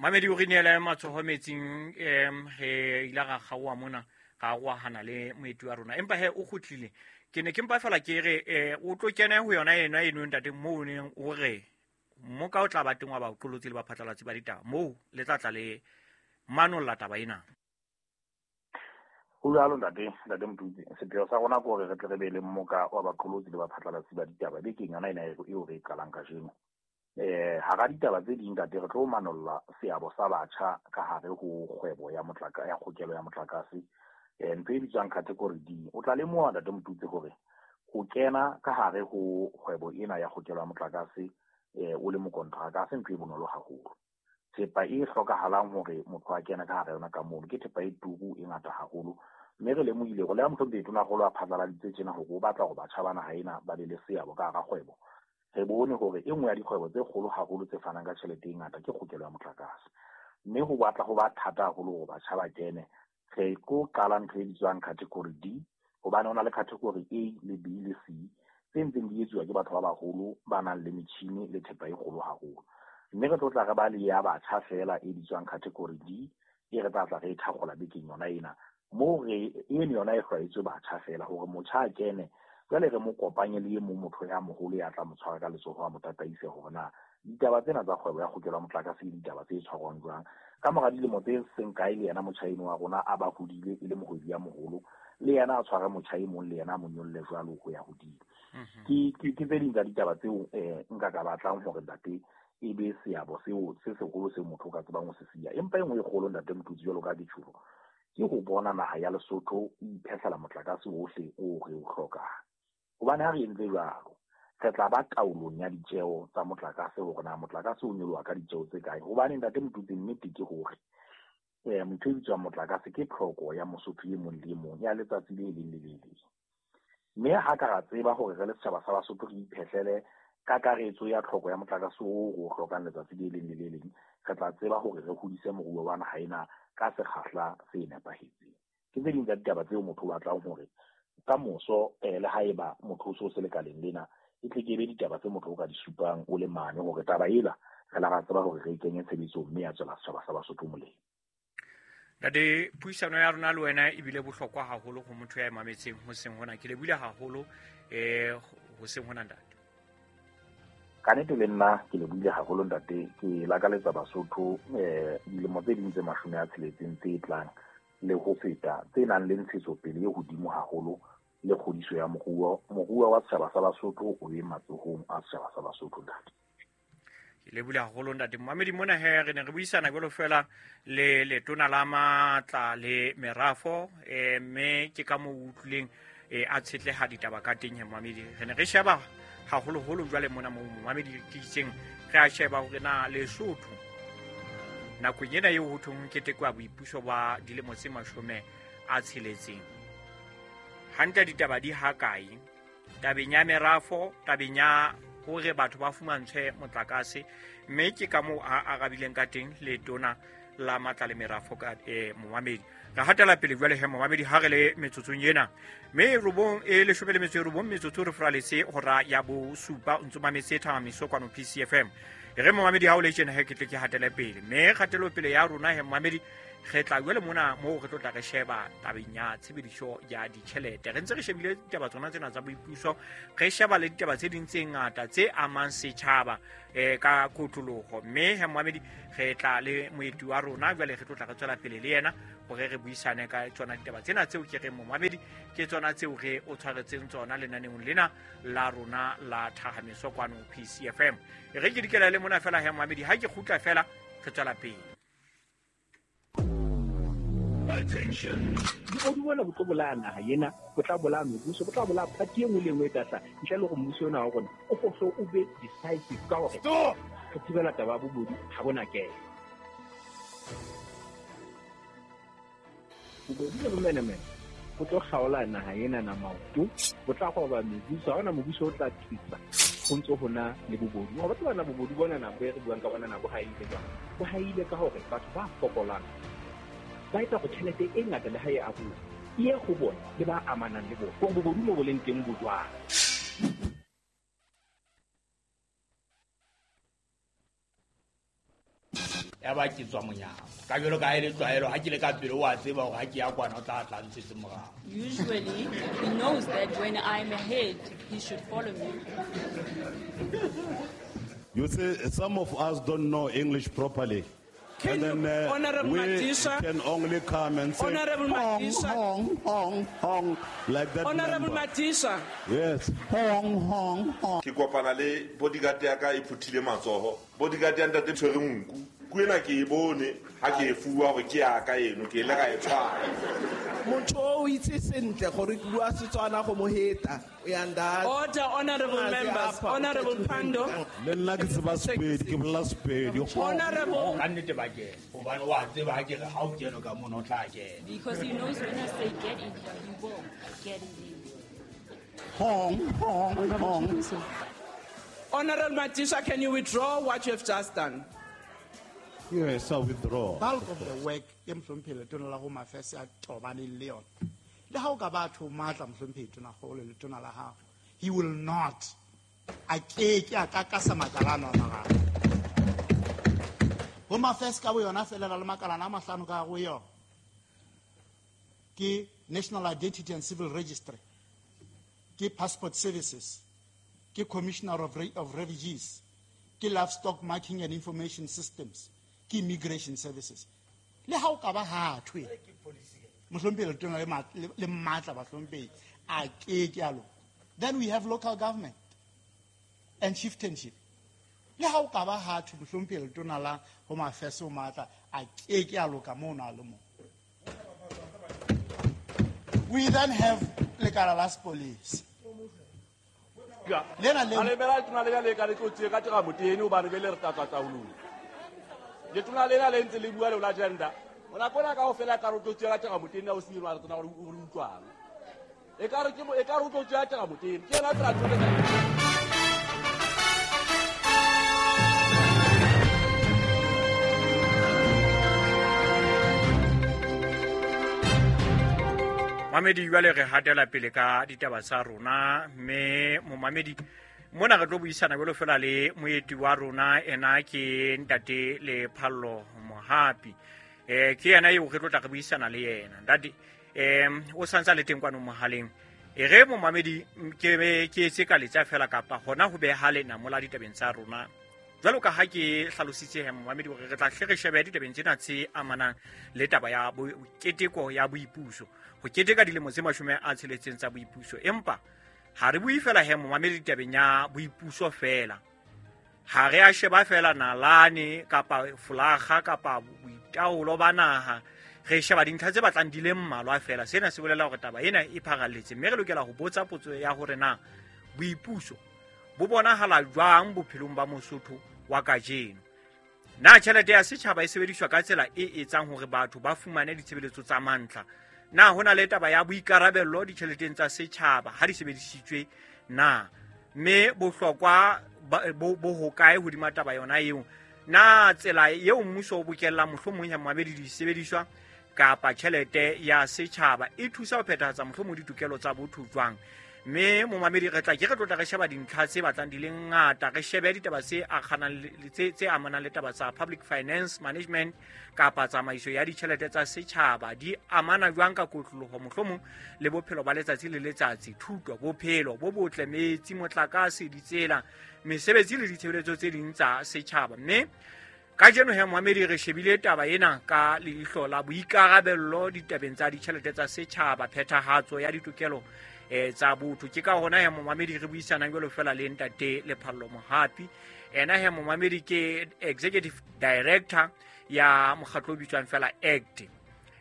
Mamedi o re neele matsoho metsing, re ile ra kgaoha mona, ra arohana le moeti wa rona, empa he o kgutlile. Ke ne ke mpa fela ke re o tlo kene ho yona ena eno ntate, moo o neng o re mmoka o tla ba teng wa baqolotsi le baphatlalatsi ba ditaba, moo le tla tla le manolla taba ena. Ho jwalo ntate, ntate Motutsi. Sepheo sa rona ke hore re tle re be le mmoka wa baqolotsi le baphatlalatsi ba ditaba bekeng yona ena eo re e qalang kajeno. Hara ditaba tse ding ntate, re tlo manolla seabo sa batjha ka hare ho kgwebo ya motlaka ya kgokelo ya motlakase, ntho e bitswang category D. O tla lemoha ntate Motutsi hore ho kena ka hare ho kgwebo ena ya kgokelo ya motlakase o le mokontraka ha se ntho e bonolo haholo. Thepa e hlokahalang hore motho a kene ka hare yona ka mono ke thepa e turu e ngata haholo, mme re lemohile hore le ha mohlomong Tonakgolo a phatlaladitse tjena hore o batla hore batjha ba naha ena ba be le seabo ka hara kgwebo, re bone hore e nngwe ya dikgwebo tse kgolo haholo tse fanang ka tjhelete e ngata ke kgokelo ya motlakase, mme ho batla ho ba thata haholo hore batjha ba kene. Re tlo qala ntho e bitswang category D, hobane ho na le category A le B le C tse ntseng di etsuwa ke batho ba baholo ba nang le metjhini le thepa e kgolo haholo, mme re tlo tla re ba le ya batjha feela e bitswang category D, e re tla tla re e thakgola bekeng yona ena, moo re eno yona e hlwaetswe batjha feela hore motjha a kene, jwale re mo kopanye le e mong motho ya moholo ya tla mo tshwara ka letsoho a mo tataise hore na ditaba tsena tsa kgwebo ya kgokelo ya motlakase ke ditaba tse tshwarwang jwang. Ka mora dilemo tse seng kae le yena motjha eno wa rona a ba hodile e le mohwebi ya moholo, le yena a tshware motjha e mong le yena a mo nyolle jwalo ho ya hodimo. Ke tse ding tsa ditaba tseo nka ka batlang hore ntate e be seabo seo se seholo seo motho o ka tsebang ho se siya. Empa e nngwe e kgolo ntate Motutsi jwalo ka ke tjholo, ke ho bona naha ya Lesotho e iphehlela motlakase ohle o re o hlokang. Hobane ha re entse jwalo, re tla ba taolong ya ditjeo tsa motlakase hore na motlakase o nyoloha ka ditjeo tse kae. Hobane ntate Motutsi nnete ke hore ntho e bitswang motlakase ke tlhoko ya Mosotho e mong le e mong ya letsatsi le leng le le leng. Mme ha ka ra tseba hore re le setjhaba sa Basotho re iphehlele kakaretso ya tlhoko ya motlakase oo re o hlokang letsatsi le leng le le leng, re tla tseba hore re hodise moruo wa naha ena ka sekgahla se nepahetseng. Ke tse ding tsa ditaba tseo motho o batlang hore ka moso le haeba motho o so se lekaleng lena, e tle ke be ditaba tse motho o ka di supang o le mane hore taba ela re la ra tseba hore re e kenye tshebetsong mme ya tswela setjhaba sa Basotho molemo. Ntate, puisano ya rona le wena e bile bohlokwa haholo ho motho ya e mametseng hoseng hona. Ke lebohile haholo hoseng hona ntate. Ka nnete le nna ke lebohile haholo ntate. Ke lakaletsa Basotho dilemo tse ding tse 60 tse tlang le ho feta, tse nang le ntshetsopele e hodimo haholo le kgodiso ya moruo. Moruo wa setjhaba sa Basotho o be matsohong a setjhaba sa Basotho ntate. Ke lebohile haholo ntate. Momamedi mona he re ne re buisana jwalo fela le letona la matla le merafo, mme ke ka moo utlwileng a tshetleha ditaba ka teng he momamedi. Re ne re sheba haholoholo jwale mona moo momamedi ke itseng re a sheba hore na Lesotho nakong ena eo ho thweng ho ketekwa boipuso ba dilemo tse 60, hantle ditaba di ha kae tabeng ya merafo, tabeng ya hore batho ba fumantshwe motlakase, mme ke ka moo a arabileng ka teng letona la matla le merafo ka momamedi. Re hatela pele jwale he momamedi ha re le metsotsong ena mme 9:19 metsotso re furaletse hora ya 7, o ntso mametse Thahamiso kwano PCFM. E re momamedi ha o le tjena he ke tle ke hatele pele, mme kgatelopele ya rona he momamedi re tla jwale mona moo re tlo tla re sheba tabeng ya tshebediso ya ditjhelete. Re ntse re shebile ditaba tsona tsena tsa boipuso, re sheba le ditaba tse ding tse ngata tse amang setjhaba ka kotloloho, mme he momamedi re tla le moeti wa rona jwale re tlo tla re tswela pele le yena hore re buisane ka tsona ditaba tsena tseo ke reng momamedi ke tsona tseo re o tshwaretseng tsona lenaneong lena la rona la Thahamiso kwano PCFM. E re ke dikela le mona fela he momamedi, ha ke kgutla fela re tswela pele. Attention. Bobodu bona bo tlo bolaya naha ena, bo tla bolaya mebuso, bo tla bolaya party e nngwe le e nngwe e tla hlaha. Ntle le hore mmuso ona wa rona o fohle o be decisive ka hore Stop! re thibela taba ya bobodu ha bona kena. Bobodu le bomenemene bo tlo kgaola naha ena na maoto, bo tla roba mebuso, ha hona mobuso o tla thusa ho ntso hona le bobodu. Wa tseba na bobodu bona na bo e re buang ka bona na bo haile jwang? Bo haile ka hore batho ba fokolang ba etsa hore tjhelete e ngata le ha e aroha e ye ho bona le ba amanang le bona. Hore bobodu mo bo leng teng bo jwang? Ya ba ke tswa monyako. Ka jwalo ka ha e le tlwaelo, ha ke le ka pele o a tseba hore ha ke ya kwana o tla tla ntshetse morao. Usually, he knows that when I'm ahead, he should follow me. You see, some of us don't know English properly. Can And then you, Honorable we Madisha, can only come and say, Honorable hong, Madisha. hong, hong, hong, like that Honorable member. Madisha. Yes, hong, hong, hong. Ke kopana le bodyguard ya ka e phuthile matsoho. Bodyguard ya ntate tshwere nku. Nku ena ke e bone ha ke e fuwa hore ke ya ka eno, ke ile ka e tshwara. Motho o itse sentle gore ke bua Setswana go mo heta. O ya nda. Order, honorable members. Honorable Pando. Le nna ke tseba Sepedi, ke bolela Sepedi. Honorable. Ka nnete ba kena. Hobane o a tseba ha ke re ha o kene ka mono o tla kena. Because he knows when I say get in here, he will get in there. Hong, hong, hong. Honorable Madisha, can you withdraw what you have just done? Yes, I withdraw. Bulk of the work e mohlomphehi letona la Home Affairs a tobaneng le yona. Le ha o ka ba tho matla mohlomphehi tonakgolo letona la hao, he will not. A keke a kakasa makalana a mararo. Home Affairs ka boyona feela le makalana a mahlano ka go yona. Ke National Identity and Civil Registry, ke Passport Services, ke Commissioner of Refugees, ke Livestock Marking and Information Systems, ke Immigration Services. Le ha o ka ba ha thwe, mohlomphehi letona le matla bahlomphehi, a keke a loka. Then we have local government and chieftainship. Le ha o ka ba ha thwe, mohlomphehi letona la Home Affairs o matla, a keke a loka moo na le moo. We then have lekala la sepolesa. Lena le- A lebela letona lena le ka le tlo tsie ka tira motene hobane bele re tla tswa taolong. Letona lena le ntse le bua le la gender. Ona kona kaofela ka re o tlo tsie ka tira motene ha o se re tsena hore o re utlwang. E ka re ke mo, e ka re o tlo tsie ka tira motene. Ke yena tsela tsohle tsa- Mamedi, jwale re hatela pele ka ditaba tsa rona, mme momamedi mona re tlo buisana jwalo fela le moeti wa rona, ena ke ntate Lephallo Mohapi. Ke yena eo re tlo tla re buisana le yena. Ntate, o santsa le teng kwano mohaleng. E re momamedi, ke be ke etse ka letsa fela kapa hona ho beha lena mola ditabeng tsa rona. Jwalo ka ha ke hlalositse he momamedi hore re tla hle re shebe ditabeng tsena tse amanang le taba ya keteko ya boipuso. Ho keteka dilemo tse 60 tsa boipuso. Empa ha re bue fela he momamedi ditabeng ya boipuso fela. Ha re a sheba fela nalane kapa folaga kapa boitaolo ba naha. Re sheba dintlha tse batlang di le mmalwa fela. Sena se bolela hore taba ena e pharalletse, mme re lokela ho botsa potso ya hore na boipuso bo bonahala jwang bophelong ba Mosotho wa kajeno. Na tjhelete ya setjhaba e sebediswa ka tsela e etsang hore batho ba fumane ditshebeletso tsa mantlha? Na hona le taba ya boikarabello ditjheleteng tsa setjhaba ha di sebedisitswe na? Mme bohlokwa bo hokae hodima taba yona eo? Na tsela eo mmuso o bokellang mohlomong ya mabedi disebediswa kapa tjhelete ya setjhaba e thusa ho phethahatsa mohlomong ditokelo tsa botho jwang? Mme momamedi re tla ke re tlotla re sheba dintlha tse batlang di le ngata, re shebe ditaba tse akganang le tse amanang le taba tsa public finance management kapa tsamaiso ya ditjhelete tsa setjhaba di amana jwang ka kotloloho mohlomong le bophelo ba letsatsi le letsatsi, thuto, bophelo bo botle, metsi, motlakase, ditsela, mesebetsi le ditshebeletso tse ding tsa setjhaba. Mme kajeno he momamedi re shebile taba ena ka leihlo la boikarabello ditabeng tsa ditjhelete tsa setjhaba, phethahatso ya ditokelo tsa botho. Ke ka hona he momamedi re buisanang jwalo fela le ntate Lephallo Mohapi. Ena he momamedi ke executive director ya mokgatlo o bitswang fela ACT,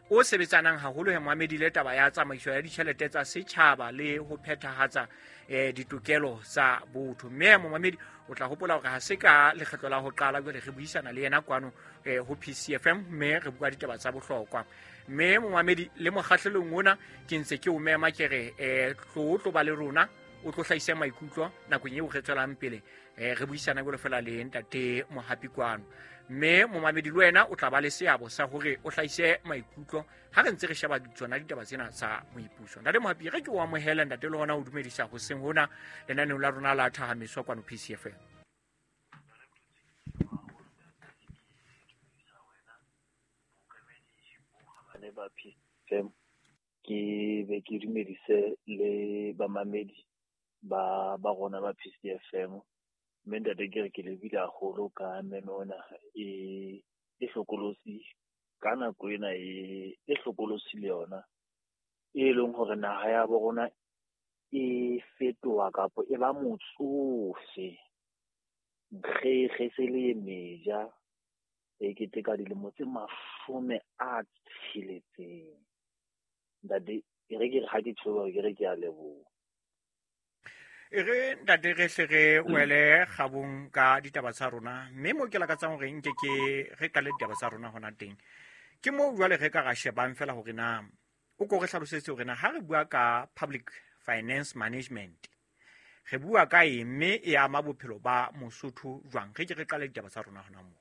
o sebetsanang haholo he momamedi le taba ya tsamaiso ya ditjhelete tsa setjhaba le ho phethahatsa ditokelo tsa botho. Mme momamedi o tla hopola hore ha se ka lekgetlo la ho qala jwale re buisana le yena kwano ho PCFM, mme re bua ditaba tsa bohlokwa. Mme momamedi le mokgahlelong ona ke ntse ke o mema ke re tlo ba le rona, o tlo hlahise maikutlo nakong eo re tswelang pele re buisana jwalo fela le ntate Mohapi kwano. Mme momamedi le wena o tla ba le seabo sa hore o hlahise maikutlo ha re ntse re sheba tsona ditaba tsena tsa boipuso. Ntate Mohapi, re ke o amohele ntate le hona o dumedisa hoseng hona lenaneong la rona la Thahamiso kwano PCFM. boiyane ba PFM, ke be ke dumedise le bamamedi ba rona ba PCFM. Mme ntate ke re ke lebile haholo ka memo ena e hlokolosi ka nako ena e hlokolosi le yona, e leng hore naha ya bo rona e fetoha kapa e ba motsofe nkgekge se le meja e keteka dilemo tse 60. Ntate e re ke re ha ke tshoba ke re ke a leboha. E re ntate re hle re wele kgabong ka ditaba tsa rona, mme mo ke lakatsang hore nke ke re qale ditaba tsa rona hona teng. Ke moo jwale re ka ra shebang fela hore na o ko re hlalosetse hore na ha re bua ka public finance management re bua ka eng, mme e ama bophelo ba Mosotho jwang? Re ke re qale ditaba tsa rona hona moo.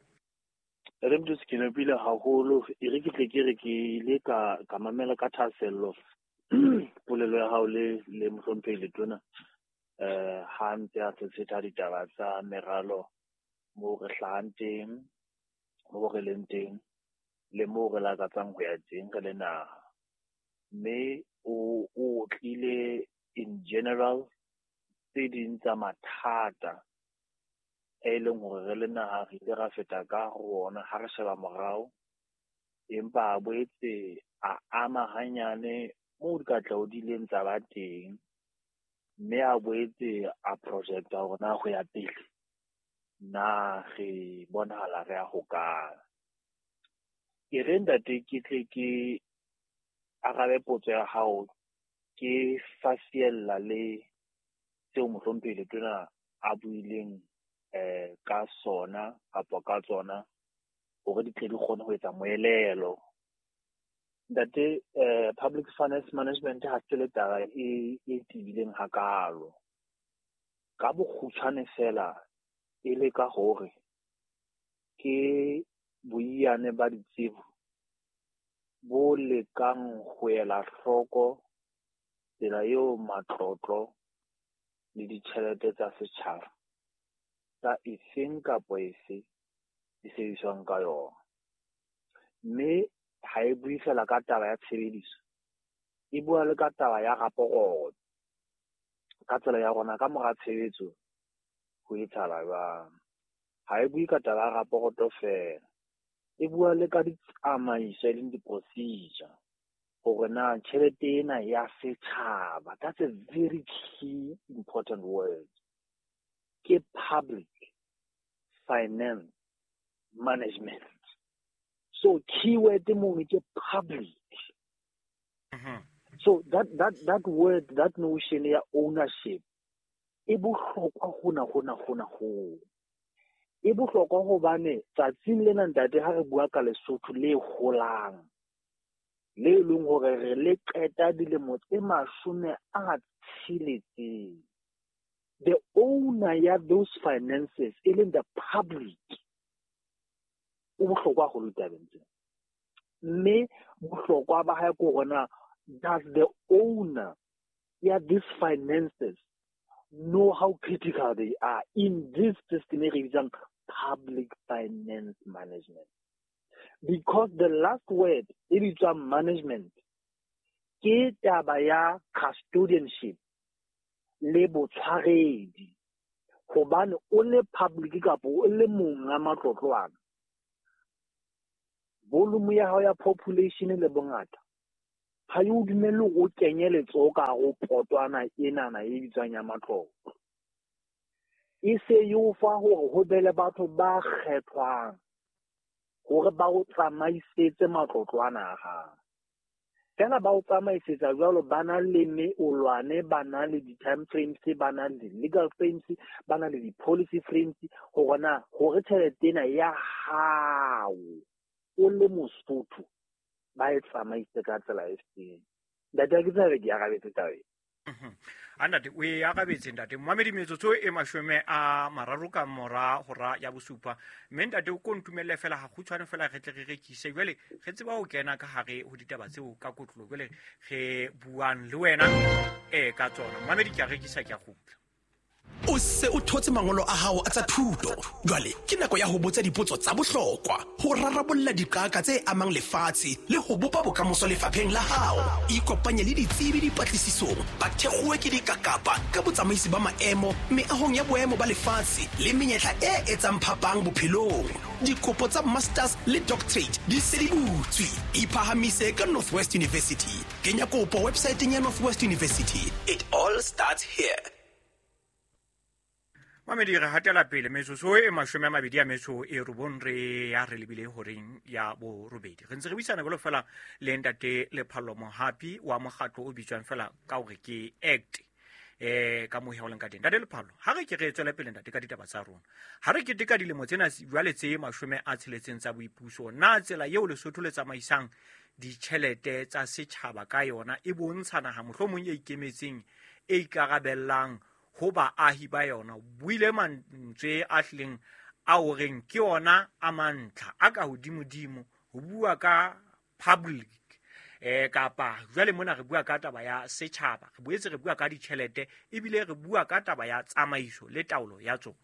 Re motho ke nepile haholo, e re ke tle ke re ke ile ka mamela ka thahasello polelo ya hao le mohlomphehi Letona ha ntse a tshetha ditaba tsa meralo moo re hlahang teng, moo re leng teng, le moo re lakatsang ho ya teng re le naha. Mme o tlile in general tse ding tsa mathata e leng hore re le naha re ile ra feta ka ho ona ha re sheba morao, empa a boetse a ama hanyane moo dikatleho di ileng tsa ba teng, mme a boetse a projecta hore na ho ya pele na re bonahala re ya hokae. Ke re ntate ke tle ke arabe potso ya hao ke fasiella le seo mohlomphehi Letona a buileng ka sona kapa ka tsona hore di tle di kgone ho etsa moelelo. Ntate, public finance management ha se le taba e tebileng hakalo. Ka bokgutshwane fela e le ka hore ke boiyane ba ditsebo bo lekang ho ela hloko tsela eo matlotlo le ditjhelete tsa setjhaba tsa efeng kapa efe di sebediswang ka yona. Mme ha e bue fela ka taba ya tshebediso, e bua le ka taba ya raporoto, ka tsela ya rona ka mora tshebetso ho etsahala jwang. Ha e bue ka taba ya raporoto fela, e bua le ka ditsamaiso e leng di-procedure hore na tjhelete ena ya setjhaba, that's a very key important word, ke public finance management. So keyword mono ke public. So that word, that notion ya ownership e bohlokwa hona. E bohlokwa hobane tsatsing lena ntate ha re bua ka Lesotho le holang, le leng hore re le qeta dilemo tse 60, the owner ya those finances e leng the public o bohlokwa haholo tabeng tsena. Mme bohlokwa ba hae ke hore na does the owner ya these finances know how critical they are in this system e re bitsang public finance management? Because the last word e bitswang management ke taba ya custodianship le botshwaredi, hobane o le public kapa o le monga matlotlo ana, volume ya hao ya population le bongata ha e o dumelle o kenye letsoho ka hare ho potwana enana e bitswang ya matlotlo. E se e o fa hore ho be le batho ba kgethwang hore ba o tsamaisetse matlotlo ana a hao. Fela ba o tsamaisetsa jwalo, ba na le meolwane, ba na le di-time frames, ba na le di-legal frames, ba na le di-policy frames, hore na hore tjhelete ena ya hao o le Mosotho ba e tsamaise ka tsela e feng. Ntate, ha ke tsebe ke arabetse taba ena. A ntate, o e arabetse ntate. Momamedi, metsotso e 30 ka mora hora ya 7. Mme ntate o ko ntumelle fela ha kgutshwane fela re tle re rekise. Jwale re tseba ho kena ka hare ho ditaba tseo ka kotlolo. Jwale re buang le wena ka tsona. Momamedi, ke a rekisa, ke a kgutla. O se o thotse mangolo a hao a tsa thuto. Jwale ke nako ya ho botsa dipotso tsa bohlokwa, ho rarabolla diqaka tse amang lefatshe le ho bopa bokamoso lefapheng la hao. Ikopanye le ditsebi dipatlisisong, ba thekgowe ke dikakapa ka botsamaisi ba maemo meahong ya boemo ba lefatshe le menyetla e etsang phapang bophelong. Dikopo tsa masters le doctorate di se di butswe. Iphahamise ka Northwest University. Kenya kopo websaeteng ya Northwest University. It all starts here. Mamedi, re hatela pele metsotso e 29 re ya re lebile horeng ya borobedi. Re ntse re buisana jwalo fela le ntate Lephallo Mohapi wa mokgatlo o bitswang fela ka hore ke ACT. Ka mohe o leng ka teng. Ntate Lephallo, ha re ke re tswele pele ntate ka ditaba tsa rona. Ha re keteka dilemo tsena jwale tse 60 tsa boipuso, na tsela eo Lesotho le tsamaisang ditjhelete tsa setjhaba ka yona e bontsha naha mohlomong e ikemetseng, e ikarabellang ho baahi ba yona? Buile mantswe a hlileng a horeng ke ona a mantlha a ka hodimodimo ho bua ka public, kapa jwale mona re bua ka taba ya setjhaba, re boetse re bua ka ditjhelete, ebile re bua ka taba ya tsamaiso le taolo ya tsona.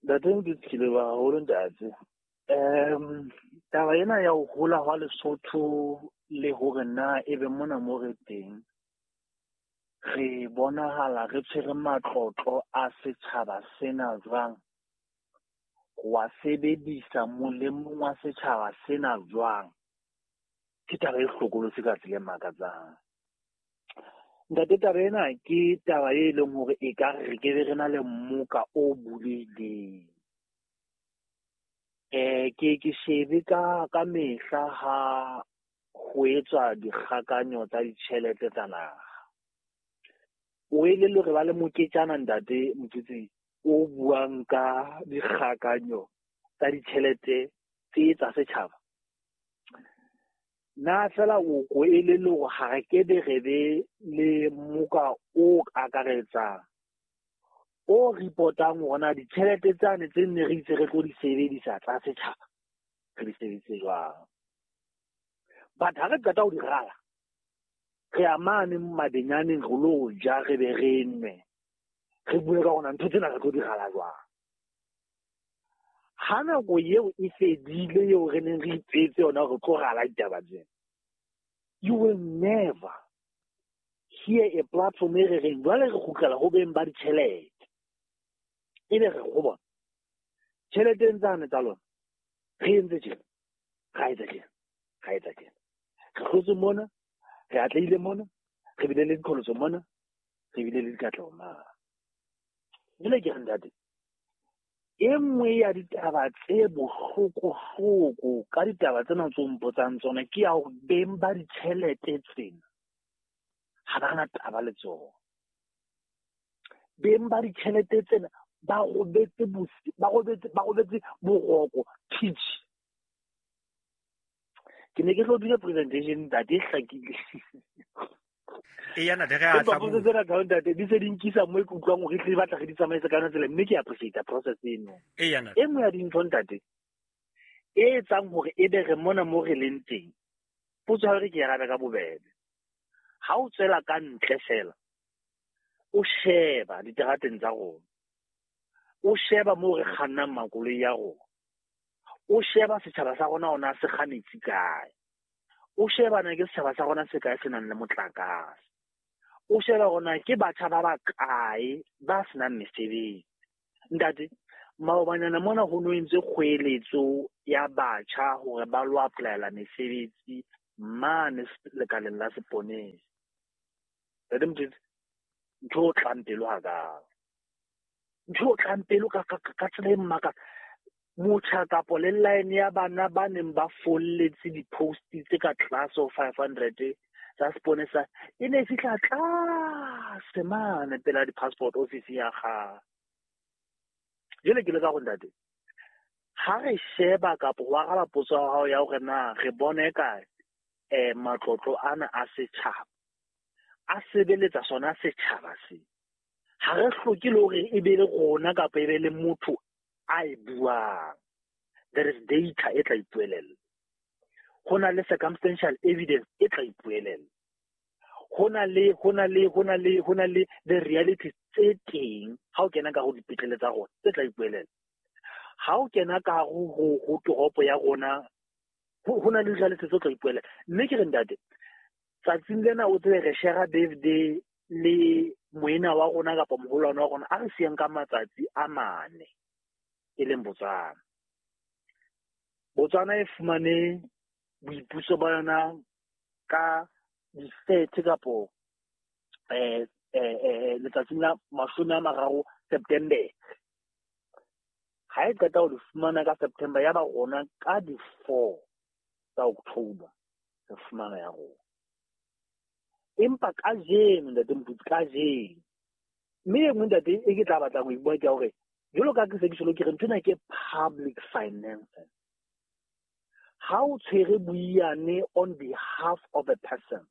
Ntate ke leboha haholo ntate. Taba ena ya ho hola hwa Lesotho le hore na ebe mona mo re teng, re bonahala re tshwere matlotlo a setjhaba sena jwang, wa sebedisa molemong wa setjhaba sena jwang, ke taba e hlokolosi ka tsela e makatsang. Ntate, taba ena ke taba e leng hore e ka re ke be re na le mmoka o bulehileng. Ke shebe ka mehla ha ho etswa dikgakanyo tsa ditjhelete tsa naha. O elellwe re ba le moketjana ntate Motsotsing o buang ka dikgakanyo tsa ditjhelete tse tsa setjhaba. Na fela o ko elellwe hore ha re ke be re be le moka o akaretsang o reportang hore na ditjhelete tsane tse nne re itse re tlo di sebedisa tsa setjhaba re di sebedise jwang. But ha re qeta ho di rala, re ya mane mabenyaneng re lo ja, re be re nwe, re bue ka hore ntho tsena re tlo di rala jwang. Ha nako eo e fedile eo re neng re ipetse yona re tlo rala ditaba tsena, you will never hear a platform e re reng jwale re kgutlela ho beng ba ditjhelete, ebe re go bona tjheleteng tsane tsa lona re entse tjena, ra etsa tjena, ra etsa tjena, re hlotse mona, re atlehile mona, re bile le diqholotso mona, re bile le dikatleho mane. Jwale ke re ntate, e nngwe ya ditaba tse bohlokohloko ka ditaba tsena tse o mpotsang tsona ke ya hore beng ba ditjhelete tsena ha ba na taba le tsona. Beng ba ditjhelete tsena ba robetse boroko pitch. Ke ne ke tlo dira presentation ntate e hlakile. E yana re a tla bo tsena ka ntate di se di nkisa mo e ke utlwang hore tle batla re di tsamaise ka yona tsela, mme ke appreciate process eno. E yana e nngwe ya dintho ntate e etsang hore e be re mona mo re leng teng, potso ya hore ke arabe ka bobebe. Ha o tswela ka ntle fela o sheba diterateng tsa rona, o sheba moo re kgannang makoloi ya rona, o sheba setjhaba sa rona ona se kganetsi kae, o sheba na ke setjhaba sa rona se kae se nang le motlakase, o sheba hore ke batjha ba bakae ba senang mesebetsi. Ntate, maobanyana mona ho no entswe kgoeletso ya batjha hore ba lo applyela mesebetsi mane lekaleng la seponesa. Ntate Motsotsing, ntho o tlang pelo hakalo, ntho o tlang pelo ka tsela e mmakatsa. Motjha kapo le line ya bana ba neng ba folletse di-post tse ka tlase ho 500 tsa seponesa e ne e fihla tlase mane pela di-passport office ya kgale. Jwale ke le ka go ntate, ha re sheba kapo ho araba potso ya hao ya hore na re bone kae matlotlo ana a setjhaba a sebeletsa sona setjhaba se, ha re hloke le hore e be le rona kapa e be le motho a e buang. There is data e tla ipuelella, ho na le circumstantial evidence e tla ipuelella, Ho na le the reality tse teng ha o kena ka ho dipetlele tsa rona tse tla ipuelela. Ha o kena ka ho toropo ya rona ho na le reality tse tla ipuelela. Mme ke re ntate, tsatsing lena o tsebe re share birthday le moena wa rona kapa moholwane wa rona a re siyang ka matsatsi a mane e leng Botswana. Botswana e fumane boipuso ba yona ka di-30 kapo letsatsing la 30 September. Ha e qeta ho le fumana ka September ya ba rona ka di-4 tsa October re fumana ya rona. Empa kajeno ntate Moputsi, kajeno mme e nngwe ntate e ke tla batlang ho e bua ke ya hore jwalo ka ke se ke tjholo ke re nthwena ke public finances. Ha o tshwere boiyane on behalf of a person,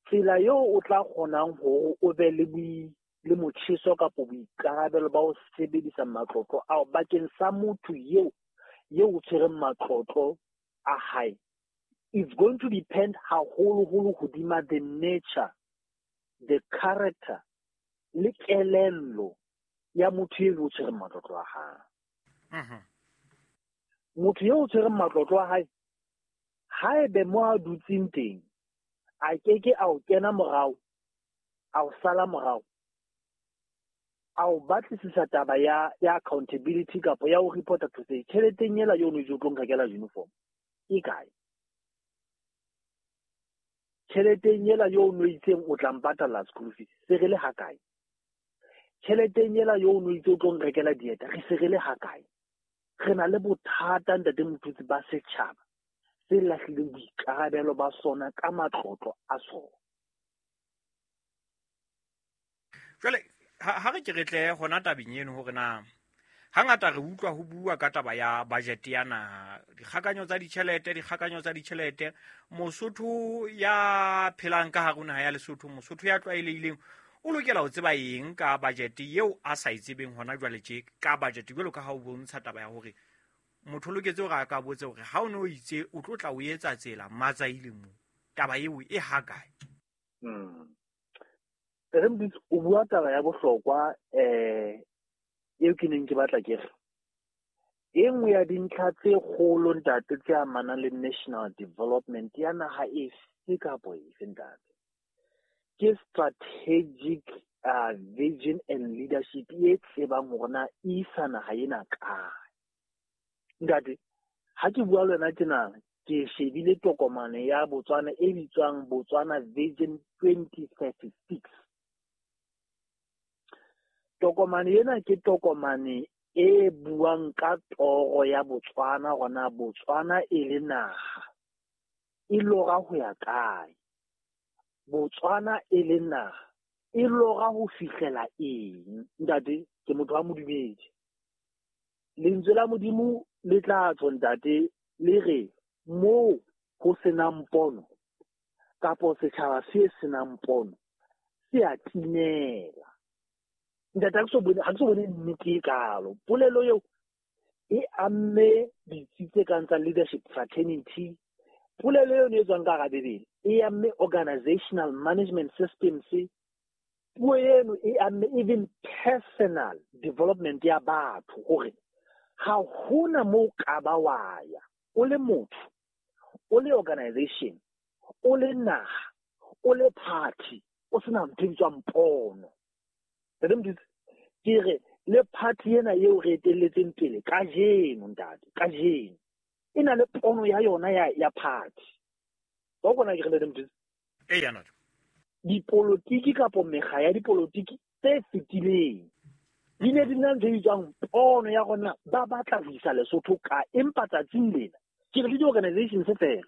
tsela eo o tla kgonang hore o be le motjheso kapa boikarabelo ba ho sebedisa matlotlo ao bakeng sa motho eo o tshwereng matlotlo a hae, it's going to depend haholoholo hodima the nature, the character le kelello ya motho eo o tshwereng matlotlo a hae. Motho eo o tshwereng matlotlo a hae, haebe mo a dutseng teng a keke a o kena morao, a o sala morao, a o batlisisa taba ya accountability kapa ya ho reporta to say tjheleteng ela eo o no itse o tlo nrekela uniform e kae, tjheleteng ela eo o no itseng o tla mpatalla school fees se re le ha kae, tjheleteng ela eo o no itse o tlo nrekela dieta re se re le ha kae. Re na le bothata ntate Moputsi ba setjhaba se lahlileng boikarabelo ba sona ka matlotlo a sona. Jwale ha re ke re tle hona tabeng eno hore na hangata re utlwa ho bua ka taba ya budget ya naha, dikgakanyo tsa ditjhelete, Mosotho ya phelang ka hare ho naha ya Lesotho, Mosotho ya tlwaelehileng o lokela ho tseba eng ka budget eo a sa e tsebeng hona jwale tje ka budget, jwalo ka ha o bontsha taba ya hore motho o loketse hore a ka botse hore ha o no itse o tlo tla o etsa tsela matsaile mo, taba eo e ha kae? Re Moputsi, o bua taba ya bohlokwa eo ke neng ke batla ke re e nngwe ya dintlha tse kgolo ntate tse amanang le national development ya naha efe kapa efe ntate ke strategic vision and leadership e tsebang hore na e isa naha ena kae. Ntate, ha ke bua le wena tjena ke shebile tokomane ya Botswana e bitswang Botswana Vision 2036. Tokomane ena ke tokomane e buang ka toro ya Botswana hore na Botswana e le naha e lora ho ya kae, Botswana e le naha e lora ho fihlela eng. Ntate, ke motho wa modumedi, lentswe la Modimo le tla tswa ntate le re moo ho senang pono kapo setjhaba se senang pono se a timela. Ntate, ha ke so bone nnete e kalo. Polelo eo e amme ditsi tse kang tsa leadership fraternity, polelo eo e tswang ka hara Bibele e amme organizational management systems, puo eno e amme even personal development ya batho, hore ha hona moo ka ba wa ya o le motho, o le organization, o le naha, o le party, o sena ntho e bitswang pono. Ke re le party ena eo re etelletseng pele kajeno ntate, kajeno e na le pono ya yona ya party. Ba kona ke re ntate Moputsi? Eya ntate. Dipolotiki kapo mekga ya dipolotiki tse fetileng di ne di na ntho e bitswang pono ya rona, ba batla ho isa Lesotho ka, empa tsatsing lena ke re le di-organization tse fela,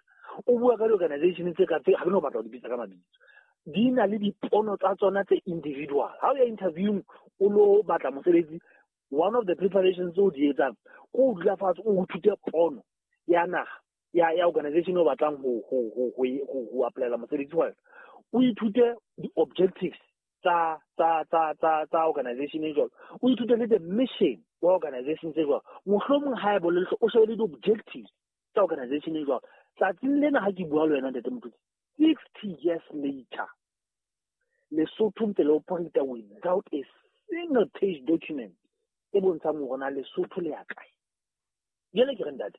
o bua ka di-organization tse ka tse ha ke no batla ho di bitsa ka mabitso, di na le dipono tsa tsona tse individual. Ha o ya interviewing o lo batla mosebetsi, one of the preparations tse o di etsang ke o dula fatshe o ithute pono ya naha ya organization o batlang ho applyela mosebetsi wa yona, o ithute di-objectives tsa organization e jwalo, o ithute le the mission wa organization tse jwalo, mohlomong ha e bolele o shebe le di-objectives tsa organization e jwalo. Tsatsing lena ha ke bua le wena ntate Moputsi, 60 years later, Lesotho ntse le operate without a single page document e bontshang hore na Lesotho le ya kae. Jwale ke re ntate,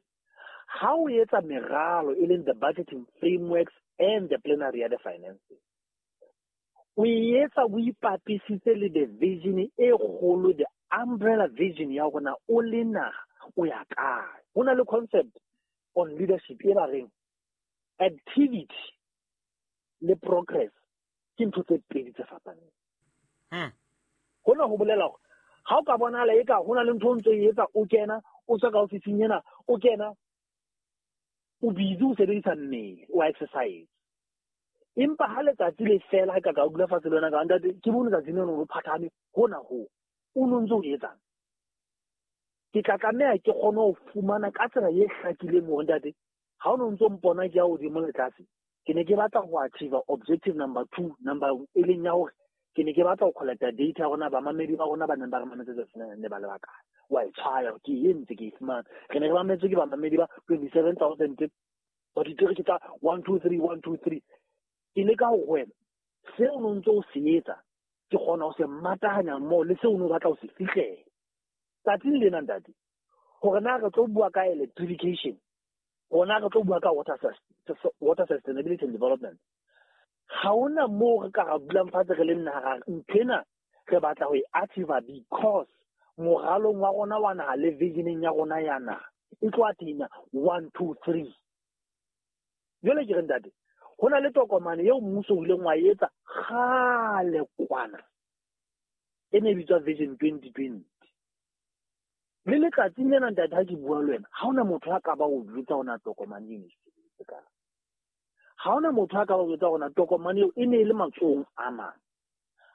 ha o etsa meralo e leng the budgeting frameworks and the plenary ya the finances, o e etsa o ipapisitse le the vision e kgolo, the umbrella vision ya hore na o le naha o ya kae. Ho na le concept on leadership e ba reng activity le progress ke ntho tse pedi tse fapaneng. Hona ho bolela hore ha o ka bonahala eka ho na le ntho o ntso e etsa, o kena o tswa ka ofising ena, o kena o busy o sebedisa mmele, o exercise. Empa ha letsatsi le fela, ha ka ka dula fatshe le wena ka ntate, ke bone letsatsi leno o phathame hona ho, o no ntso o etsang? Ke tla tlameha ke kgone ho fumana ka tsela e hlakileng hore ntate, ha o no ntso mpona ke ya hodimo le tlase, ke ne ke batla ho achieve objective number 2, number e leng ya hore ke ne ke batla ho collecta data ya rona, bamamedi ba rona ba neng ba re mametse tsatsi lena ne ba le bakae. Wa e tshwaya, ke e entse, ke e fumana. Re ne re mametswe ke bamamedi ba 27,000, ba ditereke tsa 1 2 3 1 2 3. Ke leka ho wena seo o ntso o se etsa, ke kgona ho se matahanya mmoho le seo o no batla ho se fihlela. Tsatsing lena ntate, hore na re tlo bua ka electrification, hore na re tlo bua ka water sustainability and development, ha hona moo re ka ra dulang fatshe re le naha nthwena re batla ho e achieve because moralong wa rona wa naha le visioneng ya rona ya naha e tlo attain 1 2 3. Jwale ke re ntate, ho na le tokomane eo mmuso o ileng wa etsa kgale kwana, e ne e bitswa Vision 2020. Le letsatsing lena ntate, ha ke bua le wena, ha hona motho a ka ba o jwetsa hore na tokomane eno e sebeditse kae. Ha hona motho a ka ba o jwetsa hore na tokomane eo e ne e le matsohong a mang.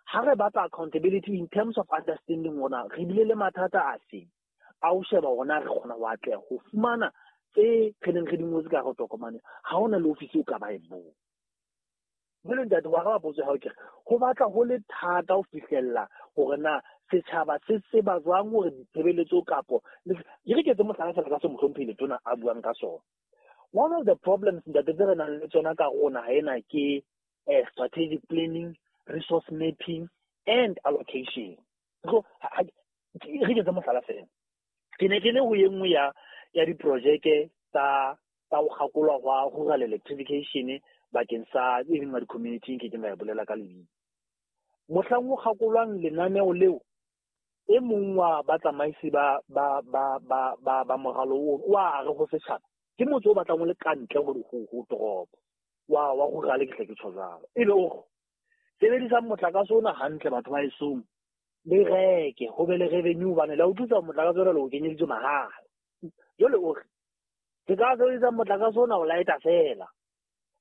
Ha re batla accountability in terms of understanding hore na re bile le mathata a feng, a o sheba hore na re kgona ho atleha ho fumana tse re neng re di ngotse ka hare ho tokomane, ha hona le ofisi o ka ba e bong. Jwale ntate, wa araba potso ya hao, ke re ho batla ho le thata ho fihlella hore na setjhaba se tseba jwang hore ditshebeletso kapo ke re ke etse mohlala fela ka se mohlomphehi Letona a buang ka sona. One of the problems ntate tse re nang le tsona ka rona ha ena ke strategic planning, resource mapping and allocation. So re ke etse mohlala fela. Ke ne ke le ho e nngwe ya diprojeke tsa ho kgakolwa hwa rural electrification bakeng sa e leng wa di-community, nke keng ka e bolela ka lebitso. Mohlang ho kgakolwang lenaneo leo, e mong wa batsamaisi ba moralo oo wa re ho setjhaba, ke motse o batlang o le ka ntle ho toropo wa rural, ke hle ke tjho jwalo. Ebe o re sebedisang motlakase ona hantle batho ba esong, le reke ho be le revenue, hobane le a utlwisisa motlakase ona le o kenyeditswe mahala. Jwale o re ke ka sebedisa motlakase ona ho lighta fela,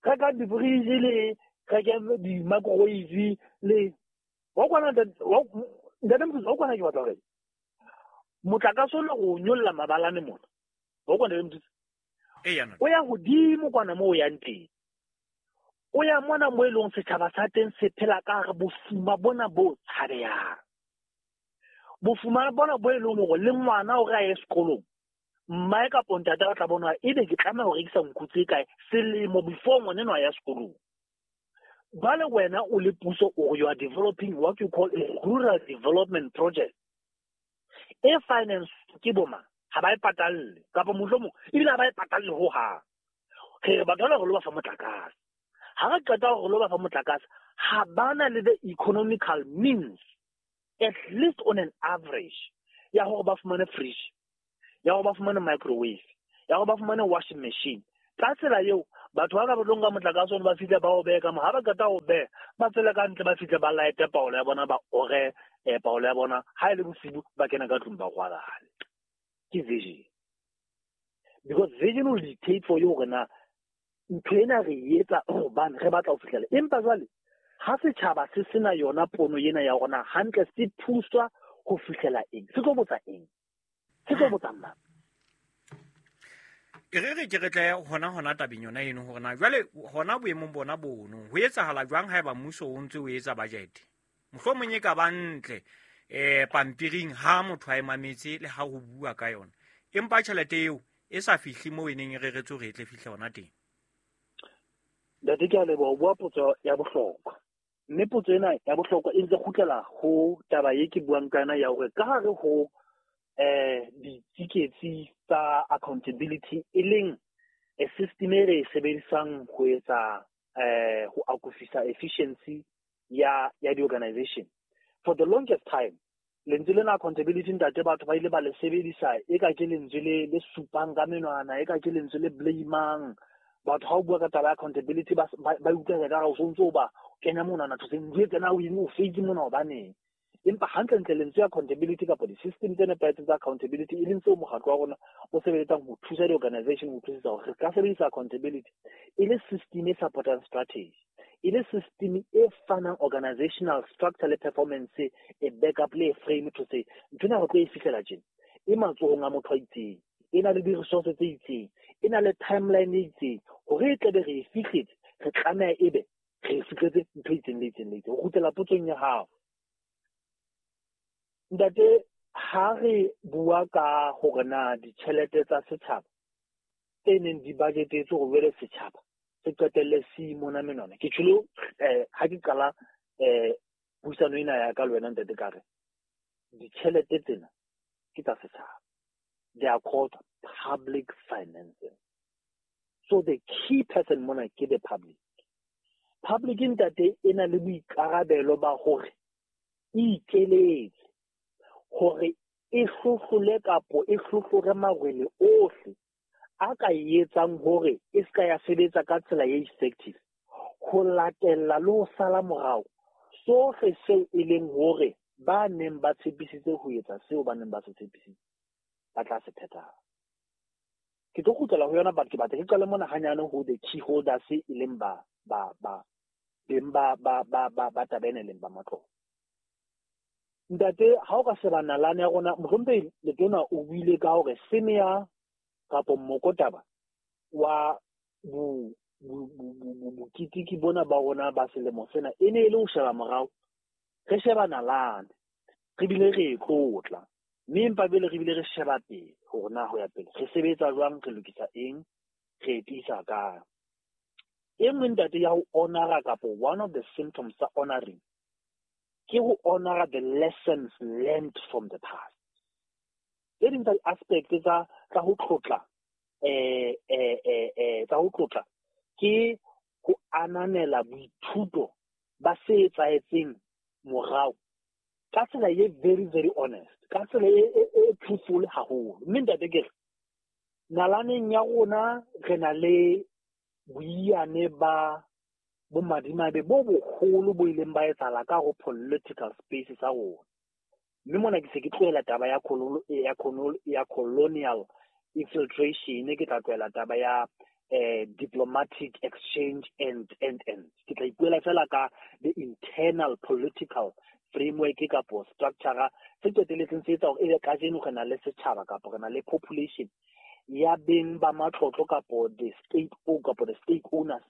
reka di-fridge le reke di-microwave le wa kwana ntate Mothusi, wa kwana ke batla hore motlakase ona o nyolla mabalane mona, wa kwana ntate Mothusi, o ya hodimo kwana moo o yang teng, o ya mona mo e leng setjhaba sa teng se phela ka hare bofuma bona bo tshabehang, bofuma bona bo e leng hore le ngwana o re a ye sekolong, mmae kapo ntate ba tla bona ebe ke tlameha ho rekisa nku tse kae selemo before ngwana enwa a ya sekolong. Jwale wena o le puso, or you are developing what you call a rural development project e finance ke boma, ha ba e patalle kapa mohlomong ebile ha ba e patalle ho hang. Re re batho ba re lo ba fa motlakase, ha re qeta hore lo ba fa motlakase, ha bana le the economical means at least on an average ya hore ba fumane fridge, ya hore ba fumane microwave, ya hore ba fumane washing machine. Ka tsela eo batho ba ka ba tlo nka motlakase ona ba fihle ba o behe ka mo, ha ba qeta ho beha ba tswele ka ntle, ba fihle ba lighte paolo ya bona, ba ore paolo ya bona, ha e le bosibu ba kena ka tlung ba rwalane. Ke vision, because vision will dictate for you hore na ntho ena re e etsa hobane re batla ho fihlela. Empa jwale ha setjhaba se sena yona pono ena ya hore na hantle se thuswa ho fihlela eng, se tlo botsa eng, se tlo botsa mang. E re ke re tle hona tabeng yona eno hore na jwale hona boemong bona bono ho etsahala jwang haeba mmuso o ntse o etsa budget, mohlomong e ka ba ntle pampiring ha motho a e mametse le ha ho bua ka yona, empa tjhelete eo e sa fihle moo e neng e reretswe hore e tle fihle hona teng. Ntate, ke a leboha, o bua potso ya bohlokwa. Mme potso ena ya bohlokwa e ntse kgutlela ho taba e ke buang ka yona ya hore ka hare ho ditsiketsi tsa accountability, e leng a system e re e sebedisang ho etsa ho akofisa efficiency ya di-organization. For the longest time, lentswe lena accountability, ntate, batho ba ile ba le sebedisa e ka ke lentswe le supang ka menwana, e ka ke lentswe le blamang batho. Ha o bua ka taba ya accountability, ba utlwa ka o sontso o ba kenya monwana thoseng, ntho tsena o eng, o feitse mona hobaneng. Empa hantlentle lentswe accountability kapa di-system tse nepahetseng tsa accountability, e leng tseo mokgatlo wa rona o sebeletsang ho thusa di-organization ho utlwisisa hore re ka sebedisa accountability e le system e supportang strategy, e le system e fanang organizational structure le performance, e backup le e frame to say ntho ena re tlo e fihlela tjena, e matsohong a motho a itseng, e na le di-resource tse itseng, e na le timeline e itseng, hore e tlabe re e fihletse, re tlameha ebe re e fihletse ntho e itseng le itseng le itseng. Ho kgutlela potsong ya hao, ntate, ha re bua ka hore na ditjhelete tsa setjhaba tse neng di budgetetswe hore jwale setjhaba se qetelle se imona menwana, ke tjholo ha ke qala puisano ena ya ka le wena, ntate, ka re ditjhelete tsena ke tsa setjhaba. They are called public finances, so the key person mona ke the public. Public, ntate, e na le boikarabelo ba hore e ikeletse hore e hlohlole kapo e hlohlore marwele ohle a ka etsang hore e ska ya sebetsa ka tsela e effective, ho latella le ho sala morao sohle seo e leng hore ba neng ba tshepisitse ho etsa, seo ba neng ba se tshepisitse ba tla se phethahatsa. Ke tlo kgutlela ho yona, but ke batla ke qale mona hanyane ho the key holders, e leng ba ba ba beng ba ba ba ba ba taba ena, e leng ba matlotlo. Ntate, ha o ka sheba nalane ya rona, mohlomphehi letona o buile ka hore theme ya kapo mokotaba wa boketeki bona ba rona ba selemo sena e ne e le ho sheba morao, re sheba nalane, re bile re e tlotla, mme empa pele re bile re sheba pele hore na ho ya pele re sebetsa jwang, re lokisa eng, re e tiisa kae. E nngwe, ntate, ya ho honora kapo one of the symptoms tsa honoring ke ho honora the lessons learned from the past. Tse ding tsa di-aspect tsa ho tlotla tsa ho tlotla ke ho ananela boithuto ba se etsahetseng morao ka tsela e very very honest, ka tsela e truthful haholo. Mme ntate, ke re nalaneng ya rona re na le boiyane ba bomadimabe bo boholo bo ileng ba etsahala ka ho political space sa rona. Mme mona ke se ke tlohela taba ya colonial infiltration, ke tla tlohela taba ya diplomatic exchange and ke tla ipuela fela ka the internal political framework kapo structure se qeteletseng se etsa hore ebe kajeno re na le setjhaba kapo re na le population ya beng ba matlotlo kapo the state o kapo the stake owners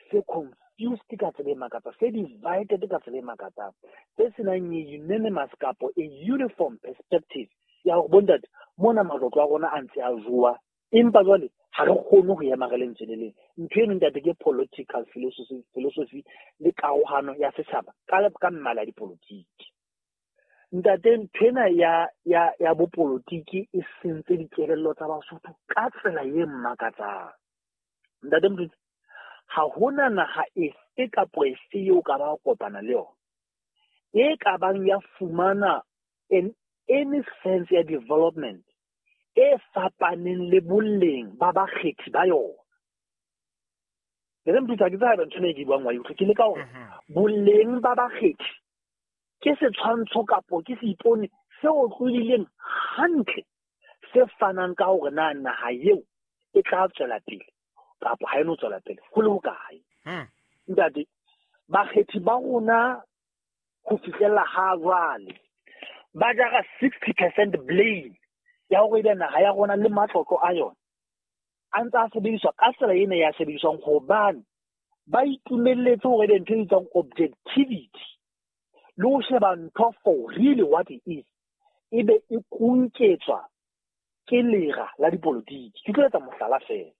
se confused ka tsela e makatsang, se divided ka tsela e makatsang, se senang a unanimous kapo a uniform perspective ya hore bontate, mona matlotlo a rona a ntse a jowa, empa jwale ha re kgone ho ema re lentswe le leng. Ntho eno, ntate, ke political philosophy le karohano ya setjhaba ka mmala ya dipolotiki. Ntate, ntho ena ya bopolotiki e sentse dikelello tsa Basotho ka tsela e makatsang. Ntate Motutsi, ha hona naha efe kapo efe eo ka ba kopana le yona e ka bang ya fumana any sense ya development e fapaneng le boleng ba bakgethi ba yona. Ntate Motutsi, ha ke tsebe ntho ena e ke buang wa e utlwa. Ke leka hore boleng ba bakgethi ke setshwantsho kapo ke seipone se otlolohileng hantle, se fanang ka hore na naha eo e tla tswela pele kapo ha e no tswela pele ho le hokae. Ntate, bakgethi ba rona ho fihlella ha jwale ba jara 60% blame ya hore ebe naha ya rona le matlotlo a yona a ntse a sebediswa ka tsela ena ya sebediswang, hobane ba itumelletse hore ebe ntho e bitswang objectivity le ho sheba ntho for really what it is e be e kunketswa ke lera la dipolotiki. Ke tlo etsa mohlala fela.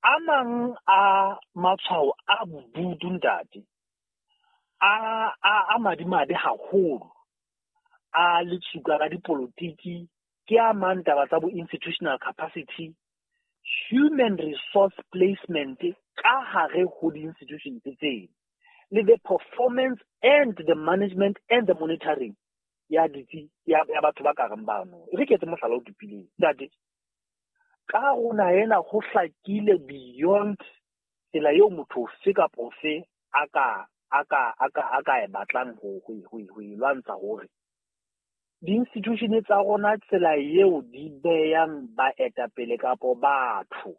A mang a matshwao a bodutu ntate, a madimabe haholo, a letsuka ka dipolotiki, ke a mang taba tsa bo institutional capacity, human resource placement ka hare ho di-institution tseno, le the performance and the management and the monitoring ya ditsi ya batho ba ka reng bano. E re ke etse mohlala o tupileng ntate, ka rona ena ho hlakile beyond tsela eo motho ofe kapa ofe a ka e batlang ho e lwantsha, hore di-institution tsa rona tsela eo di beyang baetapele kapo batho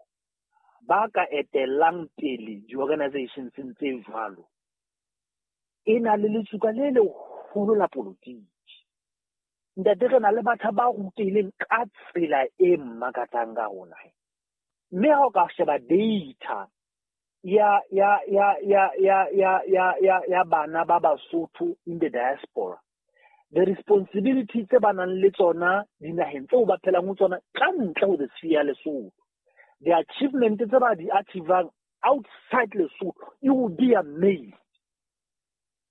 ba ka etellang pele di-organizations tse jwalo, e na le letsuka le leholo la polotiki. Ntate, re na le batho ba rutehileng ka tsela e makatsang ka rona. Mme ha o ka sheba data ya bana ba Basotho in the diaspora, the responsibility tse ba nang le tsona dinaheng tseo ba phelang ho tsona ka ntle ho the sphere ya Lesotho, the achievement tse ba di achievang outside Lesotho, you will be amazed.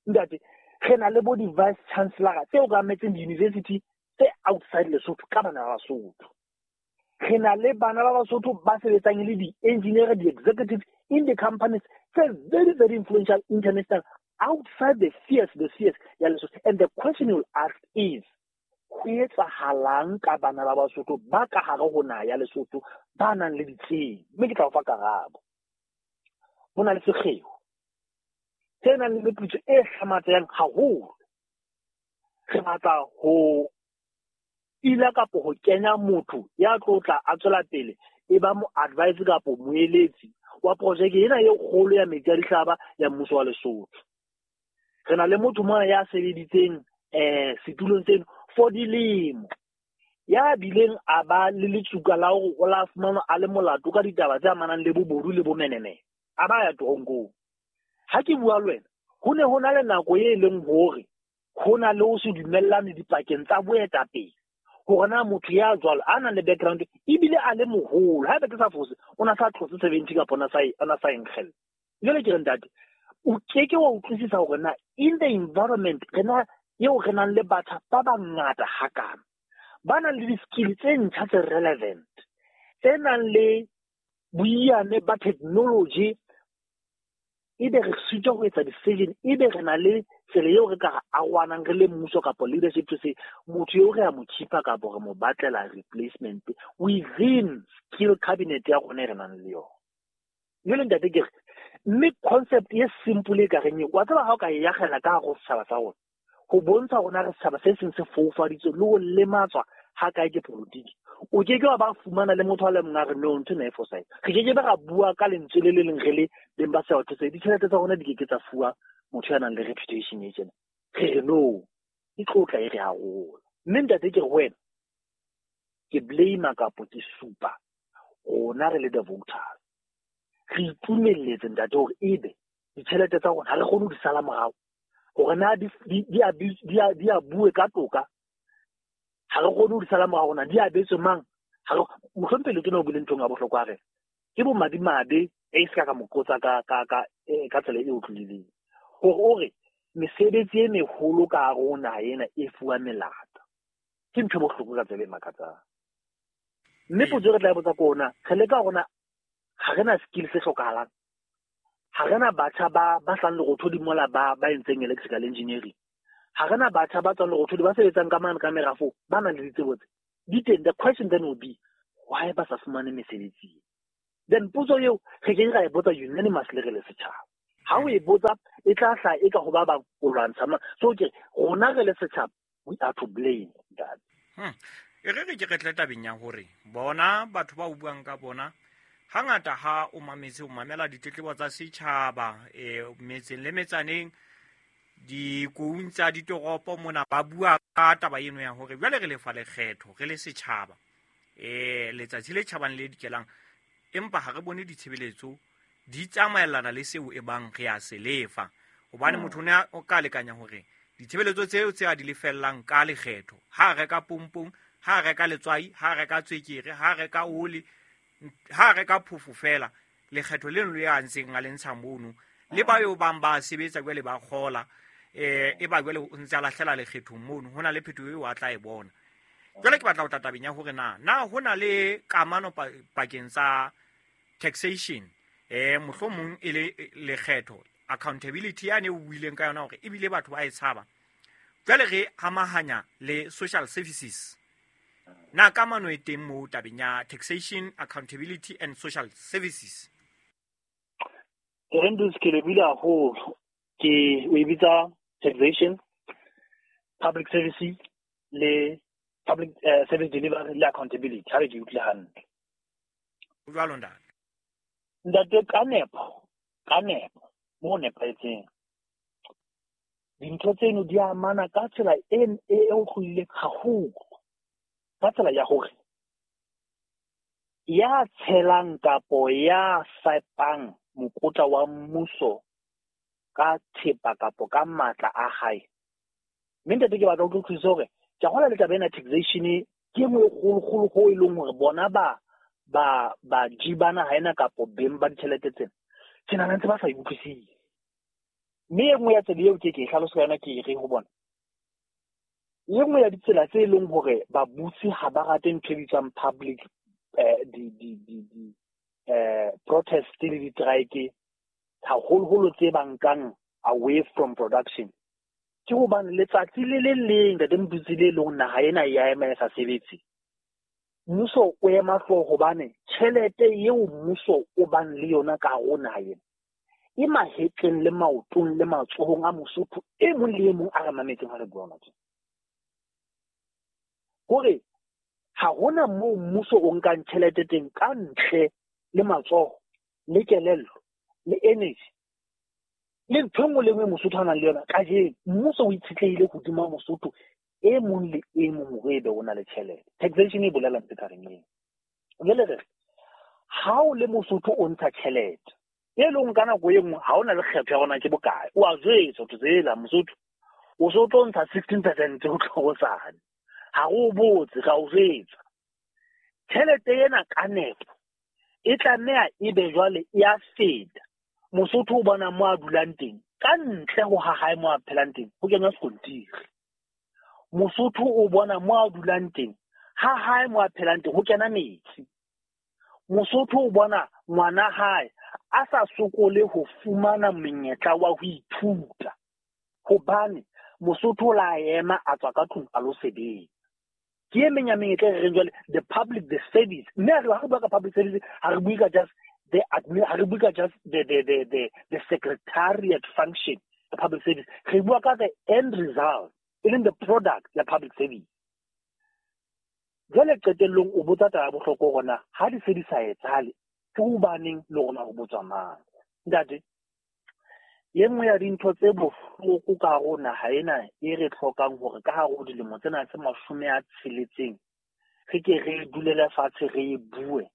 Ntate, re na le bo di-vice chancellor tse okametseng di-university tse outside Lesotho ka bana ba Basotho. Re na le bana ba Basotho ba sebetsang le di-engineer, di-executive in the companies tse very, very influential international outside the spheres ya Lesotho. And the question you'll ask is, ho etsahalang ka bana ba Basotho ba ka hare ho naha ya Lesotho ba nang le ditsebo? Mme ke tla o fa karabo. Ho na le sekgeo tse nang le meputso e hlamatsehang haholo. Re batla ho ila kapo ho kenya motho ya tlo tla a tswela pele e ba mo advice kapo moeletsi wa projeke ena e kgolo ya metsi a dihlaba ya mmuso wa Lesotho. Re na le motho mona ya sebeditseng setulong seno for dilemo, ya bileng a ba le letsuka la hore o la fumanwa a le molato ka ditaba tse amanang le bobodu le bomenemene, a ba ya toronkong. Ha ke bua le wena, ho ne ho na le nako e leng hore ho na le ho se dumellane dipakeng tsa boetapele, hore na motho ya jwalo a nang le background ebile a le moholo, haeba ke sa fose, o na sa tlotse 70 kapa o na sa enkgella. Jwale ke re ntate, o keke wa utlwisisa hore na in the environment rena eo re nang le batho ba bangata hakana, ba nang le di-skill tse ntjha tse relevant, tse nang le boiyane ba technology, ebe re sitwa ho etsa decision, ebe re na le tsela eo re ka arohanang re le mmuso kapa leadership to say motho eo re a mo keepa kapa re mo batlela replacement within skill cabinet ya rona e re nang le yona. Jwale ntate ke re, mme concept e simple e ka reng eo, wa tseba ha o ka e akgela ka hare ho setjhaba sa rona, ho bontsha rona re setjhaba se seng se foufaditswe le ho lematswa ha kae ke politiki, o ke ke wa ba fumana le motho a le mong a re no, ntho ena e fosahetse. Re ke ke be ra bua ka lentswe le le leng re le beng ba setjhaba se, ditjhelete tsa rona di ke ke tsa fuwa motho ya nang le reputation e tjena. Re re no, e tlotla e re arola. Mme ntate ke re ho wena, ke blame kapo ke supa rona re le the voters. Re itumelletse ntate hore ebe ditjhelete tsa rona ha re kgone ho di sala morao, hore na di a bue ka toka, ha re kgone ho di sala morao, rona di abetswe mang. Mohlomphehi Letona o buile nthong ya bohlokwa, a re ke bomadimabe e se ka mo qotsa ka tsela e utlwileng, hore o re mesebetsi e meholo ka hare ho naha ena e fuwa melata. Ke ntho e bohloko ka tsela e makatsang. Mme potso e re tla e botsa ke ona, re leka rona ha re na skill se hlokahalang, ha re na batjha ba hlang lerothodi mola ba entseng electrical engineering, ha re na batjha ba tswang lerothodi ba sebetsang ka mane ka merafo ba nang le ditsebo tse di teng. The question then will be, why ba sa fumane mesebetsi? Then potso eo re ke ra e botsa unanimously re le setjhaba. Ha o e botsa e tla hlaha e ka ho ba bang o lwantsha mang. So ke rona re le setjhaba, we are to blame that. E re ke re tle tabeng ya hore bona batho ba o buang ka bona hangata ha o mametse, o mamela ditletlebo tsa setjhaba metseng le metsaneng, dikoung tsa ditoropo mona, ba bua ka taba eno ya hore jwale re lefa lekgetho re le setjhaba, letsatsi le tjhabang le dikelang, empa ha re bone ditshebeletso di tsamaellana le seo e bang re a se lefa. Hobane motho o ne o ka lekanya hore ditshebeletso tseo tse a di lefellang ka lekgetho, ha reka pompong, ha reka letswai, ha reka tswekere, ha reka oli, ha reka phofo fela, Lekgetho leno le a ntseng a le ntsha mono le ba yo bang ba sebetsa jwale ba kgola e ba jwale o ntse a lahlela lekgethong mono, ho na le phetoho eo a tla e bona. Jwale ke batla ho tla tabeng ya hore na ho na le kamano pakeng tsa taxation mohlomong e le lekgetho, accountability yane o buileng ka yona hore ebile batho ba e tshaba, jwale re amahanya le social services. Na kamano e teng moo tabeng ya taxation, accountability and social services? Rendus, ke lebile haholo. Ke o e bitsa taxation, public services le public service delivery le accountability. Ha re ke utlwile hantle. Jwalo ntate. Ntate, ka nepo mo nepahetseng. Dintho tseno di amana ka tsela e otlolohileng haholo. Ka tsela ya hore ya tshelang kapo ya fepang mokotla wa mmuso ka thepa kapo ka matla a hae. Mme ntate, ke batla ho utlwisisa hore ke a kgolwa le taba ena taxation ke e nngwe e kgolokgolo ho e leng hore bona ba ji ba naha ena kapo beng ba ditjhelete tsena, ke nahana ntse ba sa e utlwisise. Mme e nngwe ya tsela eo ke e hlalosa ka yona, ke e re ho bona, e nngwe ya ditsela tse leng hore babusi ha ba rate ntho e bitswang public protest le di-strike haholoholo tse ba nkang away from production, ke hobane letsatsi le le leng ntate Motutsi le leng naha ena ya ema e sa sebetse, mmuso o ema hlooho hobane tjhelete eo mmuso o bang le yona ka hare ho naha ena e mahetleng le maotong le matsohong a Mosotho e mong le e mong a re mametseng ha re bua hona tje. Hore ha hona moo mmuso o nkang tjhelete teng ka ntle le matsoho le kelello le energy le ntho e nngwe le nngwe Mosotho a nang le yona kajeno. Mmuso o itshetlehile hodima Mosotho e mong le e mong hore ebe o na le tjhelete. Taxation e bolela ntho e ka reng eo. Jwale re re ha o le Mosotho o ntsha tjhelete e leng ka nako e nngwe ha o na le kgetho ya hore na ke bokae, o a jwetswa ho tsela Mosotho o so tlo ntsha 16% ho tloha hosane, ha re o botse, ra o jwetsa. Tjhelete ena ka nepo e tlameha ebe jwale e a feta. Mosotho o bona mo a dulang teng, ka ntle ho ha hae mo a phelang teng, ho kenywa sekontiri. Mosotho o bona mo a dulang teng, ha hae mo a phelang teng, ho kena metsi. Mosotho o bona ngwana hae a sa sokole ho fumana monyetla wa ho ithuta, hobane Mosotho o la ema a tswa ka tlung a lo sebetsa. Ke e meng ya menyetla e re reng jwale the public, the service. Mme ha re bua ka public service, ha re bue ka just the admin, ha re bue ka just the secretariat function, the public service. Re bua ka the end result, e leng the product ya public service. Jwale qetellong o botsa taba ya bohlokwa hore na ha di se di sa etsahale, ke hobaneng le rona ho botswa mang? Ntate, e nngwe ya dintho tse bohloko ka hare ho naha ena e re hlokang hore ka hare ho dilemo tsena tse 60 re ke re dulele fatshe re e bue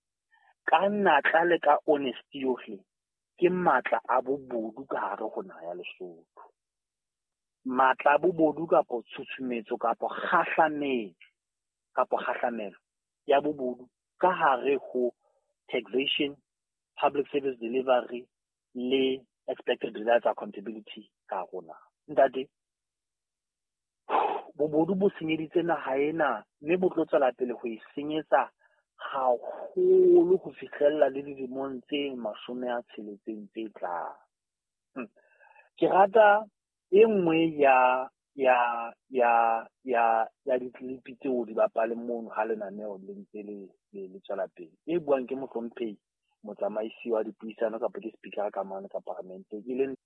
ka natla le ka honesty yohle, ke matla a bobodu ka hare ho naha ya Lesotho. Matla a bobodu kapo tshutshumetso kapo kgahlametso kapo kgahlamelo ya bobodu ka hare ho taxation, public service delivery le expected results accountability ka rona. Ntate, bobodu bo senyeditse naha ena mme bo tlo tswela pele ho e senyetsa haholo ho fihlella le dilemong tse 60 tse tlang. Ke rata e nngwe ya di-clip tseo di bapaleng mono ha lenaneo le ntse le tswela pele, e buang ke mohlomphehi motsamaisi wa dipuisano kapa ke speaker ka mane ka paramenteng, e leng